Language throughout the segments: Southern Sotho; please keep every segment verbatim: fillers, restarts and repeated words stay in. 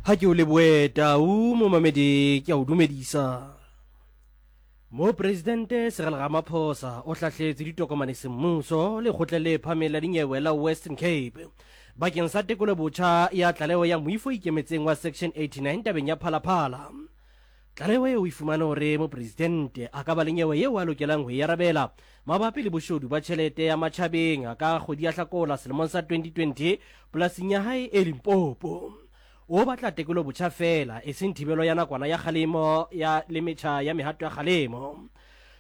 Ha ke o lebohe Tau momamedi ke a o dumedisa. Mopresidente Cyril Ramaphosa o hlahletse ditokomane semmuso lekgotleng le phahameng la dinyewe la Western Cape bakeng sa tekolo botjha ya tlaleho ya moifo o ikemetseng wa Section eighty-nine tabeng ya Phalaphala. Tlaleho eo e fumane hore mopresidente a ka ba le nyewe eo a lokelang ho e arabela mabapi le boshodu ba tjhelete ya matjhabeng ka kgwedi ya Hlakola selemong sa twenty twenty polasing ya hae e Limpopo. O batla tekolo botjha feela, eseng thibelo ya nakwana ya kgalemo ya le metjha ya mehato ya kgalemo.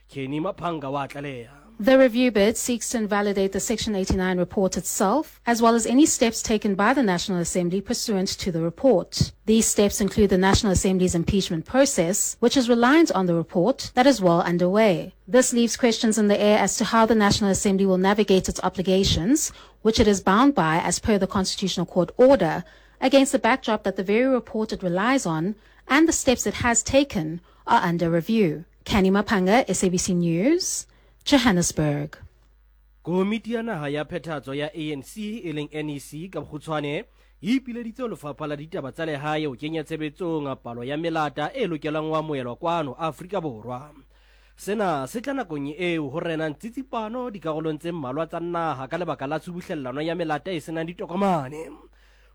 Kenny Maphanga wa tlaleha. The review bid seeks to invalidate the Section eighty-nine report itself, as well as any steps taken by the National Assembly pursuant to the report. These steps include the National Assembly's impeachment process, which is reliant on the report that is well underway. This leaves questions in the air as to how the National Assembly will navigate its obligations, which it is bound by as per the Constitutional Court order, against the backdrop that the very report it relies on and the steps it has taken are under review. Kenny Mapanga, S A B C News, Johannesburg. Komiti ya naha ya phethahatso ya A N C e leng N E C ka bokgutshwane e ipileditse ho lefapha la ditaba tsa lehae ho kenya tshebetsong palo ya melata e lokelang ho amohelwa kwano Afrika Borwa. Sena se tla nakong eo ho renang tsitsipano dikarolong tse mmalwa tsa naha ka lebaka la tshubuhlellano ya melata e senang ditokomane.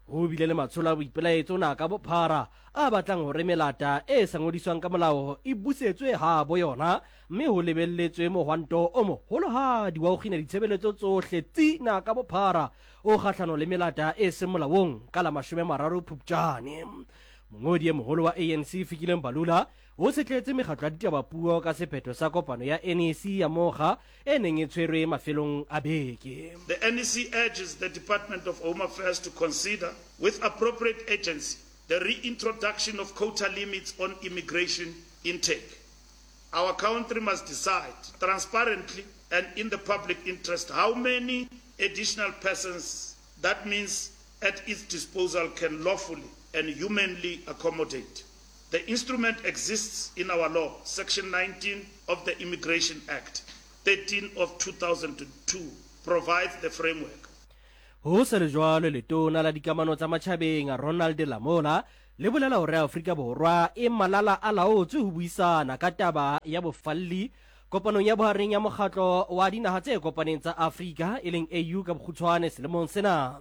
Ho bile le matsholo a boipelaetso naha ka bophara a batlang hore melata e sa ngodiswang ka molao e busetswe ha bo yona, mme ho lebelletswe mohwanto o moholohadi wa ho kgina ditshebeletso tsohle tsi naha ka bophara o kgahlano le melata e seng molaong ka la mashome a mararo Phupjane. Mongodi e moholo wa A N C Fikile Mbalula o setletse mekgatlo ya ditaba puo ka sephetho sa kopano ya N E C ya mokga e neng e tshwerwe mafelong a beke. The N E C urges the Department of Home Affairs to consider, with appropriate agency, the reintroduction of quota limits on immigration intake. Our country must decide transparently and in the public interest how many additional persons that means at its disposal can lawfully and humanly accommodate. The instrument exists in our law, Section nineteen of the Immigration Act, thirteen of two thousand two, provides the framework. Ho sa le jwalo, letona la dikamano tsa matjhabeng Ronald Lamola le bolela hore Afrika Borwa e malala a laotswe ho buisana ka taba ya bofalli kopanong ya bohareng ya mokgatlo wa dinaha tse kopaneng tsa Afrika e leng A U ka bokgutshwane selemong sena.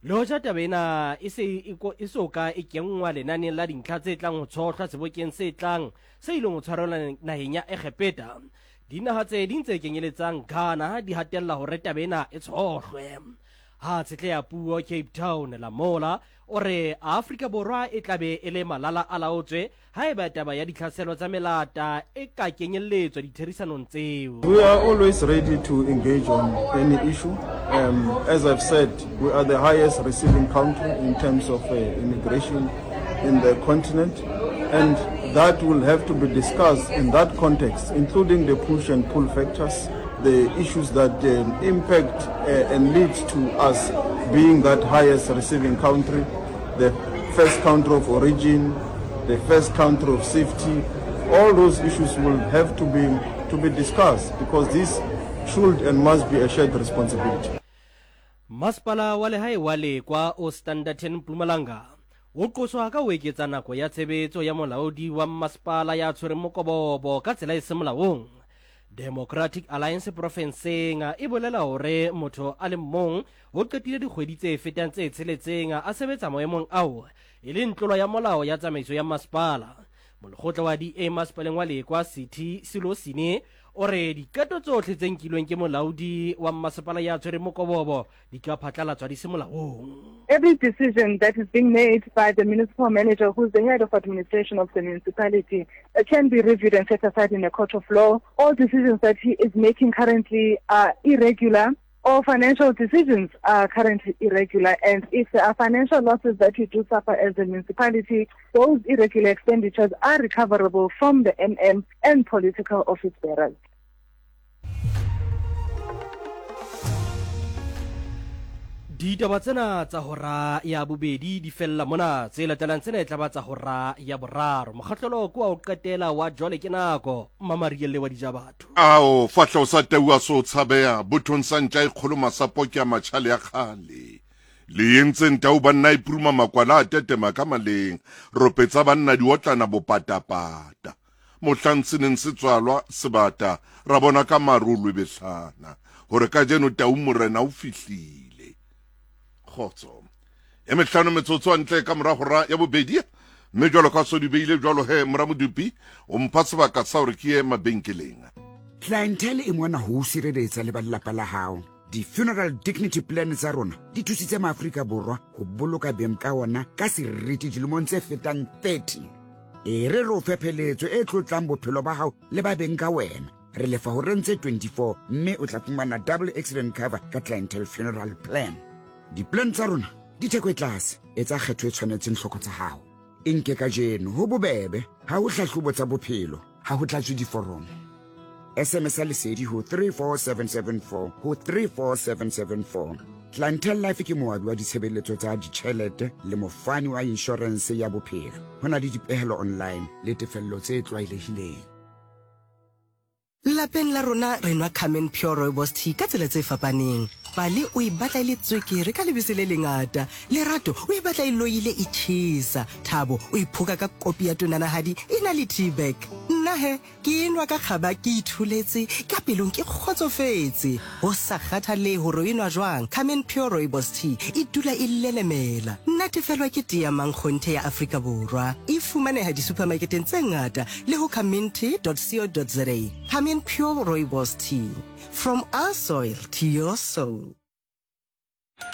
Le hoja taba ena e se e so ka e kenngwa lenaneng la dintlha tse tlang ho tshohlwa sebokeng se tlang se ileng ho tshwarelwa naheng ya Egepeta, dinaha tse ding tse kenyeletsang Ghana di hatella hore taba ena e tshohlwe. Ha tshetleha puo Cape Town, Lamola o re Afrika Borwa e tlabe e le malala a laotswe haeba taba ya ditlhaselo tsa melata e ka kenyelletswa ditherisanong tseo. We are always ready to engage on any issue. Um, as I've said, we are the highest receiving country in terms of uh, immigration in the continent, and that will have to be discussed in that context, including the push and pull factors, the issues that um, impact uh, and lead to us being that highest receiving country, the first country of origin, the first country of safety. All those issues will have to be, to be discussed, because this should and must be a shared responsibility. Masepala wa lehae wa Lekwa o Standerton Mpumalanga o qoswa ka ho eketsa nako ya tshebetso ya molaodi wa masepala ya tshwereng mokobobo ka tsela e seng molaong. Democratic Alliance profenseng e bolela hore motho a le mong o qetile dikgwedi tse fetang tse tsheletseng a sebetsa maemong ao e leng tlolo ya molao ya tsamaiso ya masepala. Molekgotla wa D A masepaleng wa Lekwa City Silosine o re diqeto tsohle tse nkilweng ke molaodi wa masepala ya tshwereng mokobobo di ka phatlalatswa di se molaong. Every decision that is being made by the municipal manager, who is the head of administration of the municipality, can be reviewed and set aside in a court of law. All decisions that he is making currently are irregular. All financial decisions are currently irregular, and if there are financial losses that we do suffer as a municipality, those irregular expenditures are recoverable from the M M and political office bearers. Ditaba tsena tsa hora ya bobedi di fella mona, tse latelang tsena e tla ba tsa hora ya boraro. Mokgahlelo ke wa ho qetela wa jwale ke nako Mmamarielle wa Dijabatho. Ao fahlo sa tau a so tshabeha bothong sa ntja e kgolo masapo ke a matjhale ya kgale. Le entseng tau banna e puruma makwala a tetema ka maleng, ropetsa banna diotlana bopatapata. Mohlang se neng se tswalwa sebata, ra bona ka maru lwebehlana hore kajeno tau morena o fihlile. Kgotso. E mehlano metsotso ntle ka mora hora ya bobedi, mme jwalo ka so di beile jwalo he mora Modupi o mpha sebaka sa hore ke ye mabenkeleng. Clientele e mona ho o sireletsa le ba lelapa la hao. Di-funeral dignity plan tsa rona di thusitse maAfrika Borwa ho boloka beng ka ona ka seriti dilemong tse fetang thirty. E re re o fe pheletso e tlotlang bophelo ba hao le ba beng ka wena. Re lefa horeng tse twenty-four mme o tla fumana double accident cover ka Clientele funeral plan. Di-plan tsa rona di theko e tlase, etsa kgetho e tshwanetseng hloko tsa hao. E nke kajeno ho bobebe, ha ho hlahlobo tsa bophelo, ha ho tlatswe diforomo. S M S ya lesedi ho three four seven seven four ho three four seven seven four. Clientele Life ke moabi wa ditshebeletso tsa ditjhelete le mofani wa inshorense ya bophelo. Ho na le dipehelo online le tefello tse tlwaelehileng. Lapeng la rona re nwa Carmen Pure Rooibos Tea ka tsela tse fapaneng. Pale o e batla e le tswekere ka lebese le lengata. Lerato o e batla e loile e tjhesa. Thabo o e phoka ka kopi ya tonanahadi e na le tea bag. Nna he ke enwa ka kgaba ke itholetse ka pelong ke kgotsofetse. Ho sa kgathalehe hore o enwa jwang, Carmen Pure Rooibos Tea e dula e lelemela. Natefelwa ke tea mankgonthe ya Afrika Borwa. E fumaneha di-supermarketeng tse ngata le ho carmentea dot co dot za. Carmen Pure Rooibos Tea. From our soil to your soul.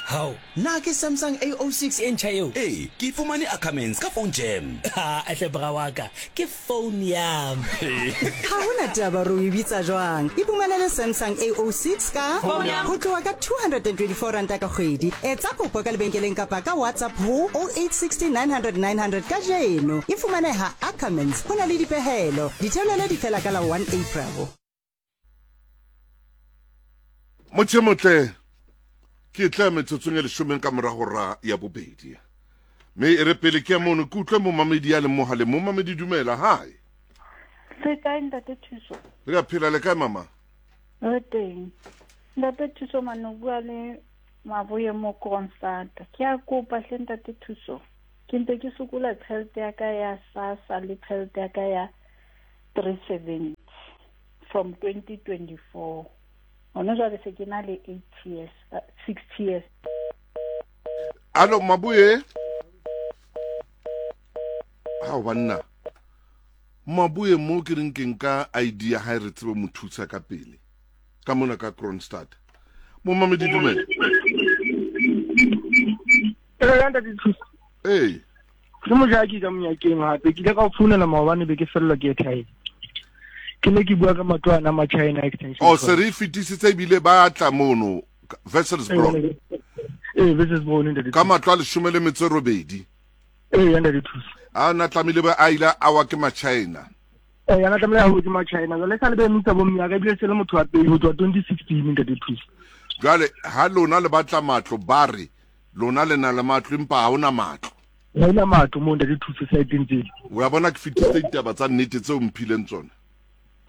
How? Na ke Samsung A oh six e ntjha eo? Ee, ke fumane Ackermans ka phone jam. Ha, atle bra wa ka, ke phone ya me. Ha hona taba ro e bitsa jwang. Iphumanele Samsung A oh six ka ho tloha ka two hundred and twenty-four ranta ka kgwedi. Etsa kopo ka lebenkeleng kapa ka WhatsApp ho oh eight six nine hundred nine hundred kajeno. E fumaneha Ackermans. Ho na le dipehelo. Ditheolelo di fela ka la one April. Motho motle ke tla metsotsong e leshome ka mora hora ya bobedi. Mme e re pele ke mono ke utlwe momamedi ya le mohale. Momamedi dumela, hi. Se kae ntate Thuso? Re a phela le kae mama? Re teng. Ntate Thuso mane bua le Maboye mo Kroonstad. Ke a kopa hle ntate Thuso. Ke ntse ke sokola tjhelete ya ka ya SASSA le tjhelete ya ka ya three seventy from twenty twenty-four. Ono jwale se ke na le eight years, uh, six years. Alo Mabuye. Ha banna. Mabuye mo ke reng ke nka idea ha re tsebe mothusa ka pele. Ka mona ka Kroonstad. Mo mamedi dumela. Ee. Ke mojaki ka monyakeng hape ke ile ka o founela maobane be ke fellwa ke airtime. Ke ne ke bua ka matlo ana ma China extension. Oh, se re fetisitse ebile ba tla mono Wesselsbron. Eh, Wesselsbron ntate. Ka matlo a leshome le metso e robedi. Eh, ntate Thuso. A na tlamehile ba a ile a wa ke ma China. Eh, ana tlamehile a ho ke ma China. Jwale sa le be mutsa bo mmya ka ebile se le motho wa pele ho tswa twenty sixteen ntate Thuso. Jwale ha lona le batla matlo ba re lona le na le matlo empa ha hona matlo. Ha hona matlo mo ntate Thuso saeteng tsena. O ya bona ke fetisitse ditaba tsa nnete tseo mphileng tsona.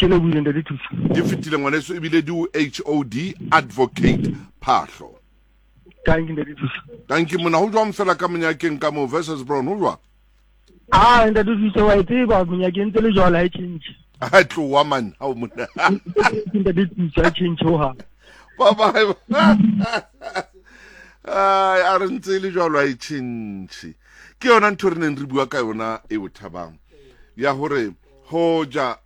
Ke le buile ntate Thuso. Di fetile ngwaneso ebile di H O D Advocate Phahlo. Thank you ntate Thuso. Thank you mona ho jwang fela ka monyakeng ka mo Wesselsbron ho jwang? Ah ntate Thuso wa tseba monyakeng tse le jwalo ha e change. Ha tlowa man ha o mona. Ntate Thuso ha change ho ha. Bye bye. Ai a re ntse le jwalo ha e change. Ke yona ntho re neng re bua ka yona e bothabang. Ya hore hoja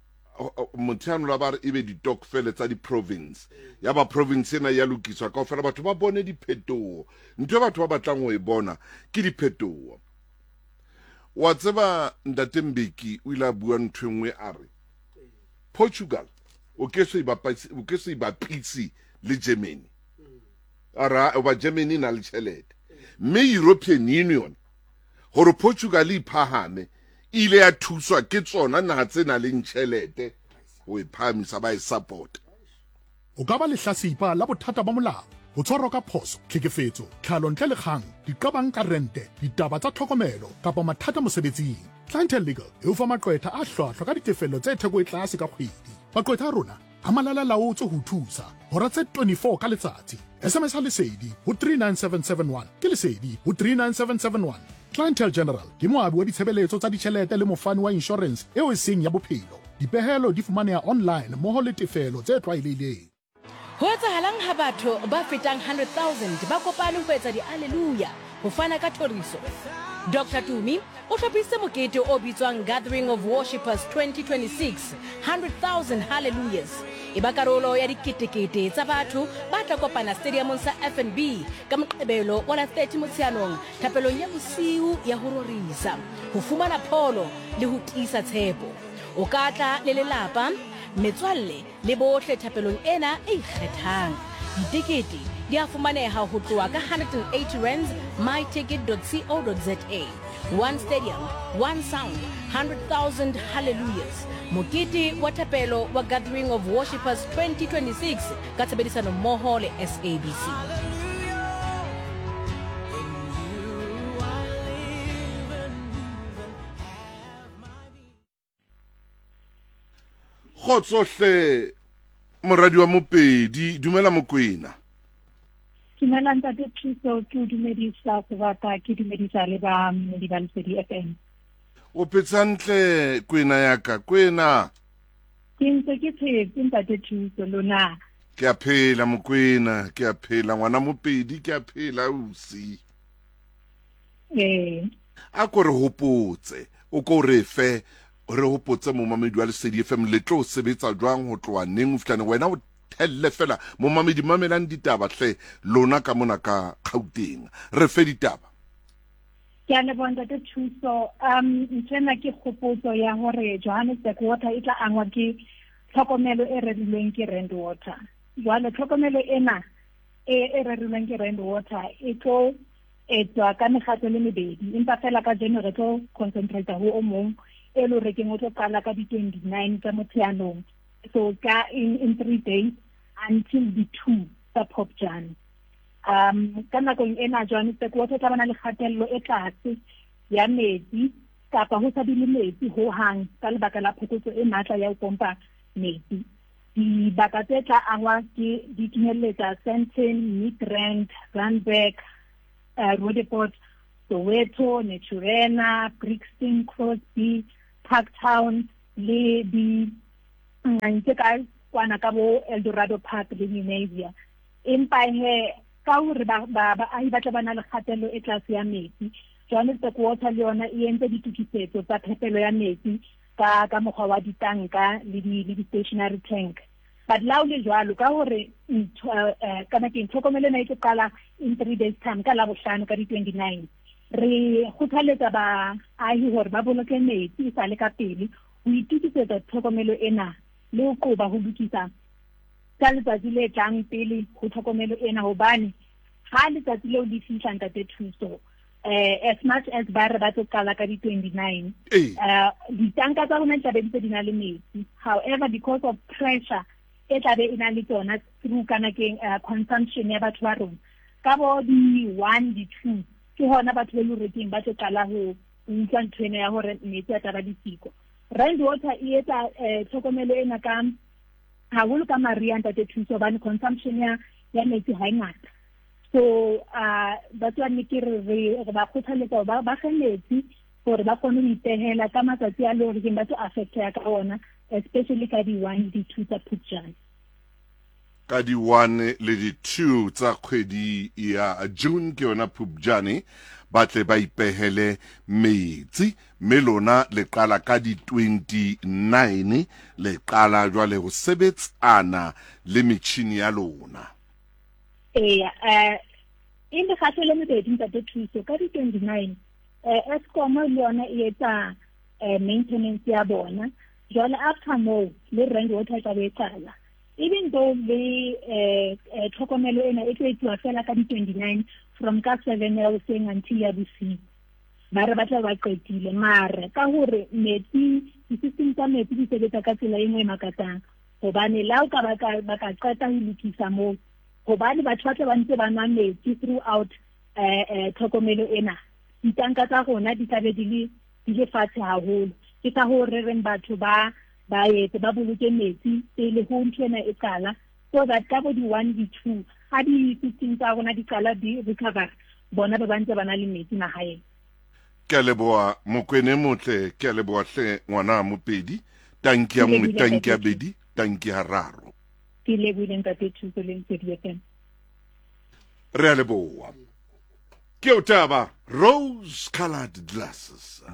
motho la ba re ebe ditokfele tsa di-province ya ba province ena ya lokiswa kaofela batho ba bone diphetoho. Ntho e batho ba batlang ho e bona ke diphetoho. Wa tseba ntate Mbeki o ile a bua ntho e nngwe a re Portugal o ke se ibapise o ke se ibapise le Germany. A ra ba Germany na le tjhelete mme European Union hore Portugal e phahame ile ya thuswa ke tsona naha tse nang le tjhelete ho e phahamisa ba e support. O ka ba lehlasipa la bothata ba molao, ho tshwarwa ka phoso, tlhekefetso, tlhalo ntle le kgang, diqabang ka rente, ditaba tsa tlhokomelo kapa mathata mosebetsing. Clientele Legal e o fa maqwetha a hlwahlwa ka ditefello tse theko e tlase ka kgwedi. Maqwetha a rona a malala laotse ho thusa hora tse twenty-four ka letsatsi. S M S Lesedi ho three nine seven seven one. Ke Lesedi ho three nine seven seven one. Clientele General ke moabi wa ditshebeletso tsa ditjhelete le mofani wa insurance eo e seng ya bophelo. Dipehelo di fumaneha online mmoho le tefelo tse tlwaelehileng. Ho etsahalang ha batho ba fetang one hundred thousand ba kopane ho etsa di-alleluia ho fana ka thoriso? Doctor Tumi o hlophisitse mokete o bitswang Gathering of Worshippers twenty twenty-six, one hundred thousand hallelujahs. E ba karolo ya diketekete tsa batho ba tla kopana stadiumong sa F N B ka Moqebelo wa la thirty Motsheanong thapelong ya bosiu ya ho rorisa, ho fumana pholo le ho tiisa tshepo. O ka tla le lelapa, metswalle le bohle thapelong ena e ikgethang. Ditekete di a fumaneha ho tloha ka one hundred and eighty rands my ticket dot co dot za. One stadium, one sound, one hundred thousand hallelujahs. Mokete wa thapelo wa Gathering of Worshippers twenty twenty-six ka tshebedisano mmoho le S A B C. Kgotsohle moradi wa Mopedi, dumela Mokwena. Dumela ntate Thuso, ke o dumedisa sebaka, ke dumedisa le ba mmedi ba Lesedi F M. O phetse hantle Kwena ya ka, Kwena? Ke ntse ke phetse ntate Thuso, lona? Ke a phela Mokwena, ke a phela ngwana Mopedi, ke a phela ausi. Eh. A ko re hopotse, o ko re fe, re hopotse momamedi wa Lesedi F M le tlo sebetsa jwang ho tloha neng ho fihla neng, wena o thelle fela momamedi mamelang ditaba hle lona ka mona ka Gauteng, re fe ditaba. Ke a leboha ntate Thuso. Um nthwena ke kgopotso ya hore Johannesburg Water e tla angwa ke tlhokomelo e rerilweng ke Rand Water. Jwale tlhokomelo ena e e rerilweng ke Rand Water e tlo etswa ka mekgatlo le mebedi, empa fela ka jeno re tlo concentrate ho o mong e lo rekeng o tlo qala ka di twenty-nine tsa Motsheanong, so ka in, in three days until the two tsa Phupjane. Um ka nakong ena Johannesburg Water tla bana le kgatello e tlase ya metsi kapa ho sa be le metsi ho hang ka lebaka la phokotso e matla ya ho pompa metsi. Dibaka tse tla angwa ke di kenyelletsa Sandton, Midrand, Randburg, uh, Roodepoort, Soweto, Naturena, Brixton, Crosby, Parktown le di ntse ka kwana ka bo Eldorado Park le Lenasia. Empa he ka hore ba baahi ba tla ba na le kgatello e tlase ya metsi, Johannesburg Water le yona e entse ditokisetso tsa phepelo ya metsi ka ka mokgwa wa ditanka le di le di-stationary tank. But la o le jwalo ka hore kana ke tlhokomelo ena e tlo qala in three days time ka Labohlano ka di twenty-nine, re kgothaletsa baahi hore ba boloke metsi e sa le ka pele ho itokisetsa tlhokomelo ena le ho qoba ho lokisa ka letsatsi le tlang pele ho tlhokomelo ena, hobane ha letsatsi leo le fihla ntate Thuso, eh as much as ba re ba tlo qala ka di twenty-nine, eh ditanka tsa rona di tla be di ntse di na le metsi. However, because of pressure e tla be e na le tsona through kana keng consumption ya batho ba rona ka bo di one di two, ke hona batho ba le rekeng ba tlo qala ho utlwa ntho ena ya hore metsi a tla ba disiko. Rand Water e etsa tlhokomelo ena ka haholo ka maria ntate Thuso, hobane consumption ya ya metsi ha e ngata. So uh batswadi ke re re ba kgothaletsa ba ba ge metsi hore ba kgone ho ipehela ka matsatsi a le hore ba tlo affecta ka ona, especially ka di one di two tsa Phupjane. Ka di one le di two tsa kgwedi ya June ke yona Phupjane, ba tle ba ipehele metsi, mme lona le qala ka di twenty-nine le qala jwale ho sebetsana le metjhini ya lona. Eya, eh e mekgatlo le mebedi ntate Thuso. Ka di twenty-nine eh Eskom le yona e etsa maintenance ya bona. Jwale after moo le Rand Water tla be e qala. Even though le eh tlhokomelo ena e tlo etsuwa fela ka di twenty-nine from ka seven ya hoseng until ya bosiu, ba re ba tla ba qetile. Mare ka hore metsi di-system tsa metsi di sebetsa ka tsela e nngwe e makatsang, hobane la o ka ba ka ba ka qeta ho lokisa moo, hobane batho ba tla ba ntse ba nwa metsi throughout eh eh tlhokomelo ena, ditanka tsa rona di tla be di le di le fatshe haholo. Ke ka hoo re reng batho ba ba etse ba boloke metsi pele ho ntho ena e qala, so that ka bo di one di two Ha di-system tsa rona di qala di recover, bona ba ba ntse ba na le metsi mahaeng. Ke a leboha Mokwene motle, ke a leboha hle ngwana Mopedi. Tanki ya Ke nngwe, lebohile tanki ya ntate. bedi, tanki ya raro. Ke lebohile ntate Thuso le Lesedi F M. Re a leboha. Ke o taba Rose Colored Glasses.